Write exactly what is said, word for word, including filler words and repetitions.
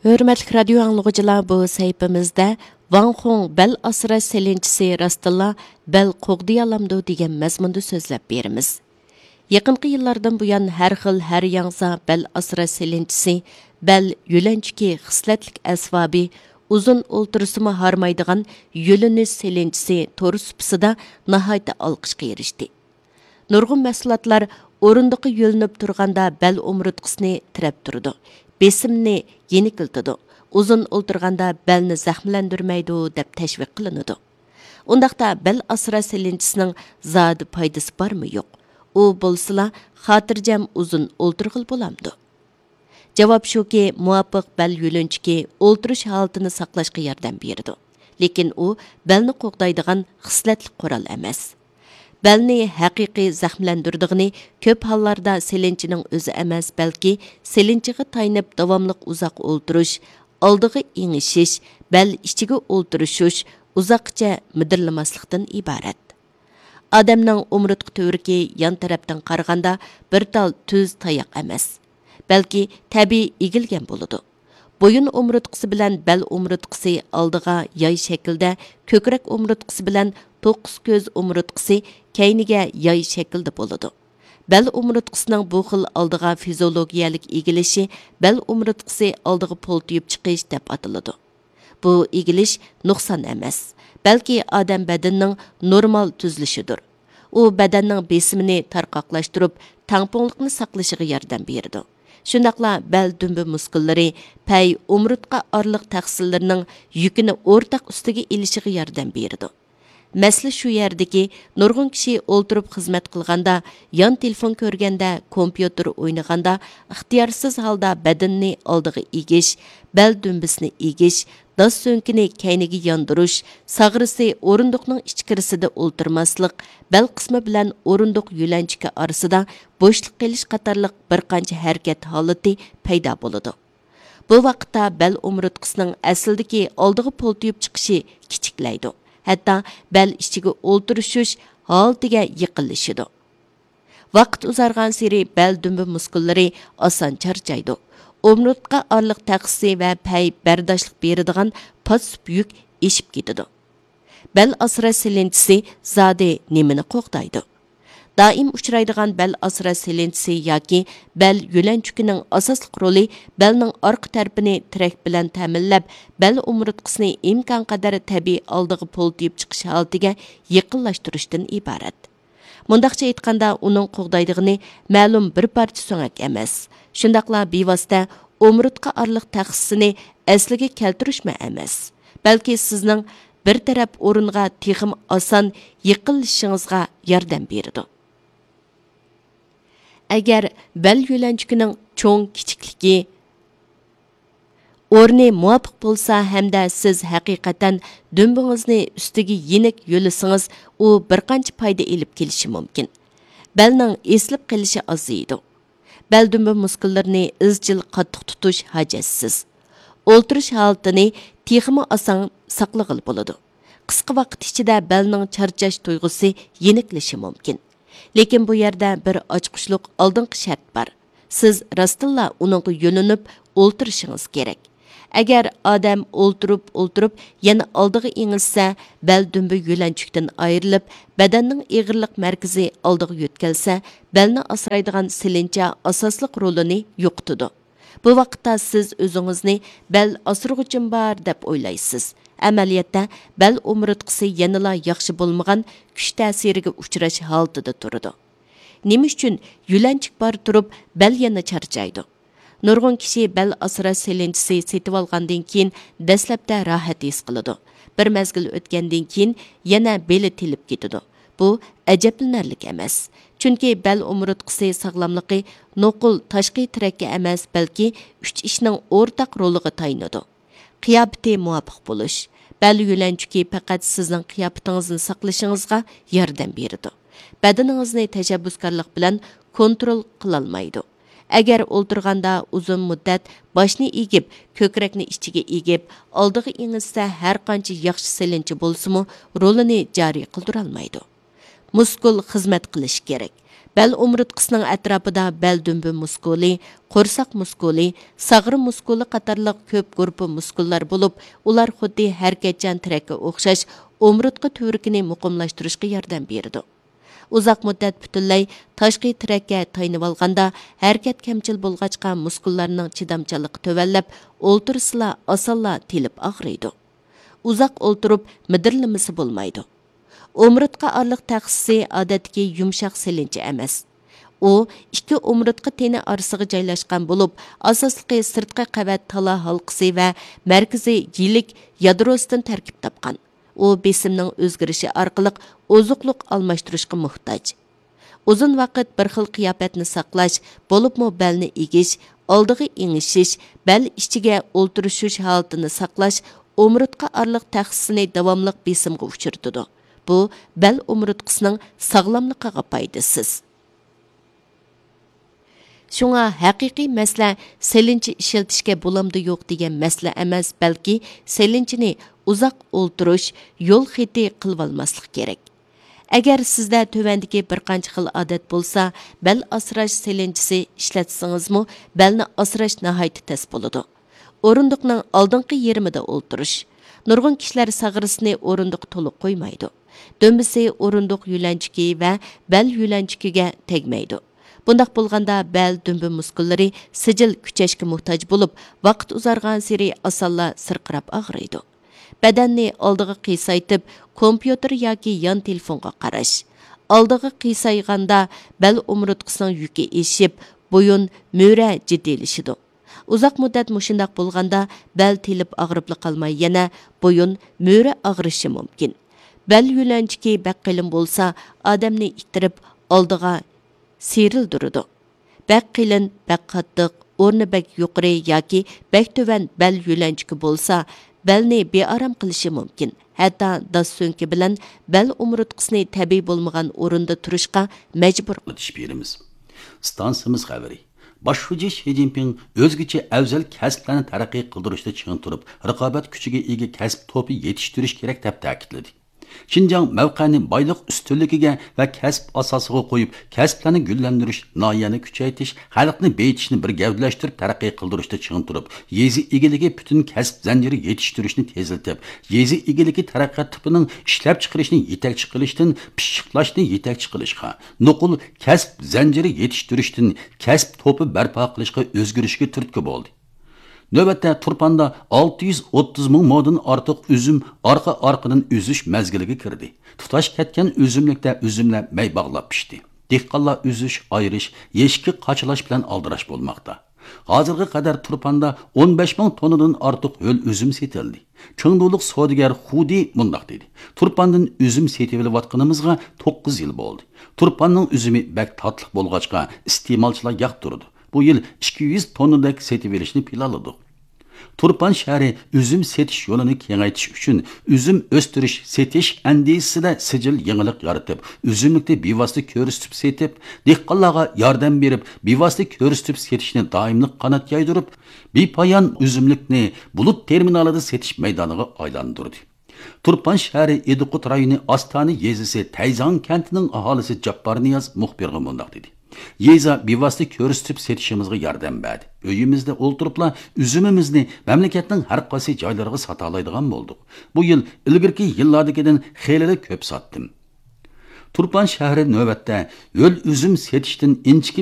ھۆرمەتلىك رادىيو ئاڭلىغۇچىلار، بۇ سەھىپىمىزدە ۋاڭ خۇڭ بەل ئاسراش سېلىنچىسى راستتىنلا بەل قوغدىيالامدۇ دېگەن مەزمۇندا سۆزلەپ بېرىمىز. يېقىنقى يىللاردىن بۇيان ھەر خىل ھەر ياڭزا بەل ئاسراش سېلىنچىسى، بەل يۆلەنچۈكى خىسلەتلىك ئەسۋابى، ئۇزۇن ئولتۇرسىمۇ ھارمايدىغان يۆلىنىش سېلىنچىسى تور سۇپىسىدا ناھايىتى ئالقىشقا ئېرىشتى. نۇرغۇن مەھسۇلاتلار ئورۇندۇققا يۆلىنىپ تۇرغاندا بەل ئومۇرتقىسىنى تىرەپ تۇرىدۇ، بېسىمنى يېنىكلىتىدۇ، ئۇزۇن ئولتۇرغاندا بەلنى زەخىملەندۈرمەيدۇ دەپ تەشۋىق قىلىنىدۇ. ئۇنداقتا بەل ئاسراش سېلىنچىسىنىڭ زادى پايدىسى بارمۇ يوق؟ ئۇ بولسىلا خاتىرجەم ئۇزۇن ئولتۇرغىلى بولامدۇ؟ جاۋاب شۇكى، مۇۋاپىق بەل يۆلەنچۈكى ئولتۇرۇش ھالىتىنى ساقلاشقا ياردەم بېرىدۇ. لېكىن ئۇ بەلنى قوغدايدىغان خىسلەتلىك قورال ئەمەس. بەلنى ھەقىقىي زەخىملەندۈرىدىغىنى كۆپ ھاللاردا سېلىنچىنىڭ ئۆزى ئەمەس، بەلكى سېلىنچىغا تايىنىپ داۋاملىق ئۇزاق ئولتۇرۇش، ئالدىغا ئېڭىشىش، بەل ئىچىگە ئولتۇرۇشۇش، ئۇزاققىچە مىدىرلىماسلىقتىن ئىبارەت. ئادەمنىڭ ئومۇرتقا تۈۋرۈكى يان تەرەپتىن قارىغاندا بىر تال تۈز تاياق ئەمەس، بەلكى تەبىئىي ئېگىلگەن بولىدۇ. بويۇن ئومۇرتقىسى بىلەن بەل ئومۇرتقىسى ئالدىغا ياي شەكلىدە، كۆكرەك ئومۇرتقىسى بىلەن توققۇز كۆز ئومۇرتقىسى كەينىگە ياي شەكلىدە بولىدۇ. بەل ئومۇرتقىسىنىڭ بۇ خىل ئالدىغا فىزىولوگىيەلىك ئېگىلىشى بەل ئومۇرتقىسى ئالدىغا پولتىيىپ چىقىش دەپ ئاتىلىدۇ. بۇ ئېگىلىش نۇقسان ئەمەس، بەلكى ئادەم بەدىنىنىڭ نورمال تۈزۈلۈشىدۇر. ئۇ بەدەننىڭ بېسىمىنى تارقاقلاشتۇرۇپ، تەڭپۇڭلۇقنى ساقلىشىغا ياردەم بېرىدۇ. شۇنداقلا بەل دۈمبە مۇسكۇللىرى، پەي، ئومۇرتقا ئارىلىق تەخسىلىرىنىڭ يۈكىنى ئورتاق ئۈستىگە ئېلىشىغا ياردەم بېرىدۇ. مەسىلە شۇ يەردىكى، نۇرغۇن كىشى ئولتۇرۇپ خىزمەت قىلغاندا، يان تېلېفون كۆرگەندە، كومپيۇتېر ئوينىغاندا ئىختىيارسىز ھالدا بەدىنىنى ئالدىغا ئېگىش، بەل دۈمبىسىنى ئېگىش، داس سۆڭىكىنى كەينىگە ياندۇرۇش، ساغرىسى ئورۇندۇقنىڭ ئىچكىرىسىدە ئولتۇرماسلىق، بەل قىسمى بىلەن ئورۇندۇق يۆلەنچۈكى ئارىسىدا بوشلۇق قېلىش قاتارلىق بىر قانچە ھەرىكەت ھالىتى پەيدا بولىدۇ. بۇ ۋاقىتتا بەل ئومۇرتقىسىنىڭ ئەسلىدىكى ئالدىغا پولتىيىپ چىقىشى كىچىكلەيدۇ، ھەتتا بەل ئىچىگە ئولتۇرۇشۇش ھالىتىگە يېقىنلىشىدۇ. ۋاقىت ئۇزارغانسېرى بەل دۈمبە مۇسكۇللىرى ئاسان چارچايدۇ. ئومۇرتقا ئارىلىق تەخسىسى ۋە پەي بەرداشلىق بېرىدىغان پاسسىپ يۈك ئېشىپ كېتىدۇ. بەل ئاسراش سېلىنچىسى زادى نېمىنى قوغدايدۇ؟ دائىم ئۇچرايدىغان بەل ئاسراش سېلىنچىسى ياكى بەل يۆلەنچۈكىنىڭ ئاساسلىق رولى بەلنىڭ ئارقا تەرىپىنى تىرەك بىلەن تەمىنلەپ، بەل ئومۇرتقىسىنى ئىمكانقەدەر تەبىئىي ئالدىغا پولتىيىپ چىقىش ھالىتىگە يېقىنلاشتۇرۇشتىن ئىبارەت. مۇنداقچە ئېيتقاندا، ئۇنىڭ قوغدايدىغىنى مەلۇم بىر پارچە سۆڭەك ئەمەس، شۇنداقلا بىۋاسىتە ئومۇرتقا ئارىلىق تەخسىسىنى ئەسلىگە كەلتۈرۈشمۇ ئەمەس، بەلكى سىزنىڭ بىر تەرەپ ئورۇنغا تېخىمۇ ئاسان يېقىنلىشىشىڭىزغا ياردەم بېرىدۇ. ئەگەر بەل يۆلەنچۈكىنىڭ چوڭ كىچىكلىكى، ئورنى مۇۋاپىق بولسا ھەمدە سىز ھەقىقەتەن دۈمبىڭىزنى ئۈستىگە يېنىك يۆلىسىڭىز، ئۇ بىر قانچە پايدا ئېلىپ كېلىشى مۇمكىن. بەلنىڭ ئېسىلىپ قېلىشى ئازىيىدۇ. بەل دۈمبە مۇسكۇللىرىنى ئىزچىل قاتتىق تۇتۇش ھاجەتسىز. ئولتۇرۇش ھالىتىنى تېخىمۇ ئاسان ساقلىغىلى بولىدۇ. قىسقا ۋاقىت ئىچىدە بەلنىڭ چارچاش تۇيغۇسى يېنىكلىشى مۇمكىن. لېكىن بۇ يەردە بىر ئاچقۇچلۇق ئالدىنقى شەرت بار. سىز راستتىنلا ئۇنىڭغا يۆلىنىپ ئولتۇرۇشىڭىز كېرەك. ئەگەر ئادەم ئولتۇرۇپ، ئولتۇرۇپ يەنە ئالدىغا ئېڭىشسە، بەل دۈمبە يۆلەنچۈكتىن ئايرىلىپ، بەدەننىڭ ئېغىرلىق مەركىزى ئالدىغا يۆتكەلسە، بەلنى ئاسرايدىغان سېلىنچا ئاساسلىق رولىنى يوقىتىدۇ. بۇ ۋاقىتتا سىز ئۆزىڭىزنى بەل ئاسرىغۇچىم بار دەپ ئويلايسىز. ئەمەلىيەتتە بەل ئومۇرتقىسى يەنىلا ياخشى بولمىغان كۈچ تەسىرىگە ئۇچراش ھالىتىدە تۇرىدۇ. نېمە ئۈچۈن يۆلەنچۈك بار تۇرۇپ بەل يەنە چارچايدۇ؟ نۇرغۇن كىشى بەل ئاسراش سېلىنچىسى سېتىۋالغاندىن كېيىن دەسلەپتە راھەت ھېس قىلىدۇ. بىر مەزگىل ئۆتكەندىن كېيىن يەنە بېلى تېلىپ كېتىدۇ. بۇ ئەجەبلىنەرلىك ئەمەس. چۈنكى بەل ئومۇرتقىسى ساغلاملىقى نوقۇل تاشقى تىرەككە ئەمەس، بەلكى ئۈچ ئىشنىڭ ئورتاق رولىغا تايىنىدۇ. قىياپىتى مۇۋاپىق بولۇش. بەل يۆلەنچۈكى پەقەت سىزنىڭ قىياپىتىڭىزنى ساقلىشىڭىزغا ياردەم بېرىدۇ. بەدىنىڭىزنى تەشەببۇسكارلىق بىلەن كونترول قىلالمايدۇ. ئەگەر ئولتۇرغاندا ئۇزۇن مۇددەت باشنى ئېگىپ، كۆكرەكنى ئىچىگە ئېگىپ، ئالدىغا ئېڭىشسە، ھەرقانچە ياخشى سېلىنچى بولسىمۇ، رولىنى جارى قىلدۇرالمايدۇ. مۇسكۇل خىزمەت قىلىشى كېرەك. بەل ئومۇرتقىسىنىڭ ئەتراپىدا بەل دۈمبە مۇسكۇلى، قورساق مۇسكۇلى، ساغرا مۇسكۇلى قاتارلىق كۆپ گۇرۇپپا مۇسكۇللار بولۇپ، ئۇلار خۇددى ھەرىكەتچان تىرەككە ئوخشاش ئومۇرتقا تۈۋرۈكىنى مۇقىملاشتۇرۇشقا ياردەم بېرىدۇ. ئۇزاق مۇددەت پۈتۈنلەي تاشقى تىرەككە تايىنىۋالغاندا، ھەرىكەت كەمچىل بولغاچقا، مۇسكۇللارنىڭ چىدامچانلىقى تۆۋەنلەپ، ئولتۇرسىلا ئاسانلا تېلىپ ئاغرىيدۇ. ئۇزاق ئولتۇرۇپ مىدىرلىمىسى بولمايدۇ. ئومۇرتقا ئارىلىق تەخسىسى ئادەتتىكى يۇمشاق سېلىنچە ئەمەس. ئۇ ئىككى ئومۇرتقا تېنى ئارىسىغا جايلاشقان بولۇپ، ئاساسلىقى سىرتقى قەۋەت تالا ھالقىسى ۋە مەركىزىي يىلىك يادروسىدىن تەركىب تاپقان. ئۇ بېسىمنىڭ ئۆزگىرىشى ئارقىلىق ئوزۇقلۇق ئالماشتۇرۇشقا موھتاج. ئۇزۇن ۋاقىت بىر خىل قىياپەتنى ساقلاش، بولۇپمۇ بەلنى ئېگىش، ئالدىغا ئېڭىشىش، بەل ئىچىگە ئولتۇرۇشۇش ھالىتىنى ساقلاش ئومۇرتقا ئارىلىق تەخسىسىنى داۋاملىق بېسىمغا ئۇچرىتىدۇ. بۇ بەل ئومۇرتقىسىنىڭ ساغلاملىقىغا پايدىسىز. شۇڭا ھەقىقىي مەسىلە سېلىنچە ئىشلىتىشكە بولامدۇ يوق دېگەن مەسىلە ئەمەس، بەلكى سېلىنچىنى ئۇزاق ئولتۇرۇش يول خېتى قىلىۋالماسلىق كېرەك. ئەگەر سىزدە تۆۋەندىكى بىر قانچە خىل ئادەت بولسا، بەل ئاسراش سېلىنچىسى ئىشلەتسىڭىزمۇ، بەلنى ئاسراش ناھايىتى تەس بولىدۇ. ئورۇندۇقنىڭ ئالدىنقى يېرىمىدا ئولتۇرۇش. نۇرغۇن كىشىلەر ساغرىسىنى ئورۇندۇققا تولۇق قويمايدۇ. دۈمبىسى ئورۇندۇق يۆلەنچۈكى ۋە بەل يۆلەنچۈكىگە تەگمەيدۇ. بۇنداق بولغاندا بەل دۈمبە مۇسكۇللىرى سىجىل كۈچەشكە موھتاج بولۇپ، ۋاقىت ئۇزارغانسېرى ئاسانلا سىرقىراپ ئاغرىيدۇ. بەدەننى ئالدىغا قىيسايتىپ، كومپيۇتېر ياكى يان تېلېفونغا قاراش. ئالدىغا قىيسايغاندا بەل ئومۇرتقىسىنىڭ يۈكى ئېشىپ، بويۇن، مۈرە جىددىيلىشىدۇ. ئۇزاق مۇددەت مۇشۇنداق بولغاندا بەل تېلىپ ئاغرىپلا قالماي، يەنە بويۇن، مۈرە ئاغرىشى مۇمكىن. بەل يۆلەنچۈكى بەك قېلىن بولسا، ئادەمنى ئىتتىرىپ ئالدىغا سىيرىلدۈرىدۇ. بەك قېلىن، بەك قاتتىق، ئورنى بەك يۇقىرى ياكى بەك تۆۋەن بەل يۆلەنچۈكى بولسا، بەلنى بىئارام قىلىشى مۇمكىن. ھەتتا داس سۆڭىكى بىلەن بەل ئومۇرتقىسىنى تەبىئىي بولمىغان ئورۇندا تۇرۇشقا مەجبۇر. ئېلىپ بېرىمىز. ئىستانسىمىز خەۋىرى. باش شۇجى شى جىنپىڭ ئۆزگىچە ئەۋزەل كەسىپلەرنى تەرەققىي قىلدۇرۇشتا چىڭ تۇرۇپ، رىقابەت كۈچىگە ئىگە كەسىپ توپى يېتىشتۈرۈش كېرەك، دەپ تەكىتلىدى. شىنجاڭ مەۋقەنى بايلىق ئۈستۈنلۈكىگە ۋە كەسىپ ئاساسىغا قويۇپ، كەسىپلەرنى گۈللەندۈرۈش، ناھىيەنى كۈچەيتىش، خەلقنى بېيىتىشنى بىر گەۋدىلەشتۈرۈپ تەرەققىي قىلدۇرۇشتا چىڭ تۇرۇپ، يېزا ئىگىلىكى پۈتۈن كەسىپ زەنجىرى يېتىشتۈرۈشنى تېزلىتىپ، يېزا ئىگىلىكى تەرەققىيات تىپىنىڭ ئىشلەپچىقىرىشنى يېتەكچى قىلىشتىن پىششىقلاشنى يېتەكچى قىلىشقا، نوقۇل كەسىپ زەنجىرى يېتىشتۈرۈشتىن كەسىپ توپى بەرپا قىلىشقا ئۆزگىرىشكە تۈرتكە بولدى. نۆۋەتتە تۇرپاندا ئالتە يۈز ئوتتۇز مىڭ مودىن ئارتۇق ئۈزۈم ئارقا-ئارقىدىن ئۈزۈش مەزگىلىگە كىردى. تۇتاش كەتكەن ئۈزۈملۈكتە ئۈزۈملەر مەي باغلاپ پىشتى. دېھقانلار ئۈزۈش، ئايرىش، يەشىككە قاچىلاش بىلەن ئالدىراش بولماقتا. ھازىرغا قەدەر تۇرپاندا ئون بەش مىڭ توننىدىن ئارتۇق ھۆل ئۈزۈم سېتىلدى. چېڭدۇلۇق سودىگەر خۇدى مۇنداق دېدى: تۇرپاندىن ئۈزۈم سېتىۋېلىۋاتقىنىمىزغا توققۇز يىل بولدى. تۇرپاننىڭ ئۈزۈمى بەك تاتلىق بولغاچقا، ئىستېمالچىلار ياقتۇرىدۇ. بۇ يىل ئىككى يۈز توننىدەك سېتىۋېلىشنى پىلانلىدۇق. تۇرپان شەھىرى ئۈزۈم سېتىش يولىنى كېڭەيتىش ئۈچۈن ئۈزۈم ئۆستۈرۈش، سېتىش ئەندىزىسىدە سىجىل يېڭىلىق يارىتىپ، ئۈزۈملۈكنى بىۋاسىتە كۆرسىتىپ سېتىپ، دېھقانلارغا ياردەم بېرىپ، بىۋاسىتە كۆرسىتىپ سېتىشنى دائىملىق قانات يايدۇرۇپ، بىپايان ئۈزۈملۈكنى بۇلۇت تېرمىنالىدا سېتىش مەيدانىغا ئايلاندۇردى. تۇرپان شەھىرى ئىدىقۇت رايونى ئاستانە يېزىسى تەيزاڭ كەنتىنىڭ ئاھالىسى جاپپار نىياز مۇخبىرغا مۇنداق دېدى: يېزا بىۋاسىتە كۆرسىتىپ سېتىشىمىزغا ياردەم بەردى. ئۆيىمىزدە ئولتۇرۇپلا ئۈزۈمىمىزنى مەملىكەتنىڭ ھەر قايسى جايلىرىغا ساتالايدىغان بولدۇق. بۇ يىل ئىلگىرىكى يىللاردىكىدىن خېلىلا كۆپ ساتتىم. تۇرپان شەھىرى نۆۋەتتە ھۆل ئۈزۈم سېتىشتىن ئىنچىكە